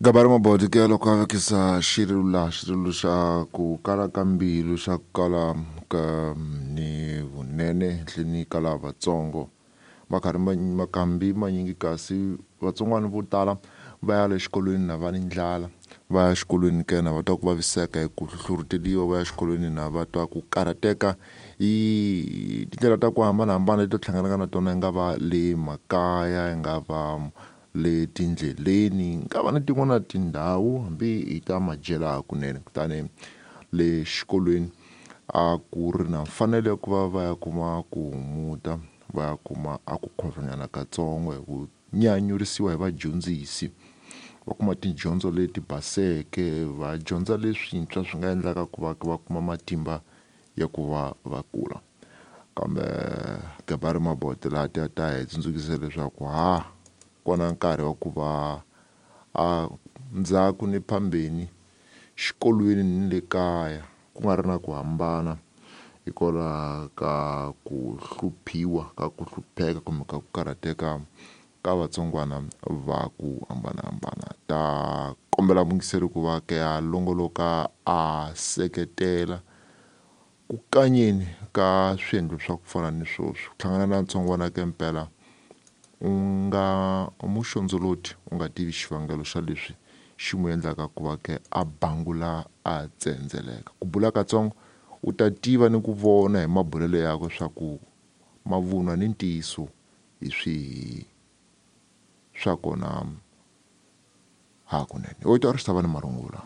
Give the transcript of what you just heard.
Gabari Mabodi ke loko a vekisa xirilo laha xirilo xa ku kala ka mbilu xa ku kala ka ni vunene henhleni ka lavatsongo va karhi makambi manyingi kasi vatsongwana vo tala va ya le xikolweni na va ni ndlala va ya xikolweni ke na va twa ku vaviseka hi ku hluhluruteliwa va ya xikolweni na va twa ku karhateka hi tindlela ta ku hambanahambana leti hlanganaka na tona yi nga va le makaya yi nga va le tindleleni nga va na tin'wana tindhawu hambi hi ta madyela hakunene kutani le xikolweni a ku ri na mfanelo ya ku va va ya kuma ku humuta va ya kuma a ku khorhonyana katsongo hi ku nyanyurisiwa hi vadyondzisi va kuma tidyondzo leti baseke va dyondza leswintshwa swi nga endlaka ku va va kuma matimba ya ku va va kula kambe Gabari Mabote laha ti ta hi tsundzukisa leswaku ha kona nkarhi wa ku va a ndzhaku ni phambeni xikolweni ni le kaya ku nga ri na ku hambana hikwalaho ka ku hluphiwa ka ku hlupheka kumbe ka ku karhateka ka vatsongwana va ku hambanahambana ta kombela muyingiseri ku va ke a longoloka a seketela ku kanyeni ka swiendlo swa ku fana ni swoswo ku hlangana na ntsongwana ke mpela u nga muxondzoloti u nga tivi xivangelo xa leswi xi n'wi endlaka ku va ke a bangula a tsendzeleka ku bula katsongo u ta tiva ni ku vona hi mabulelo yakwe swa ku mavunwa ni ntiyiso hi swihi swa kona hakunene u twa ri xi ta va ni marungula.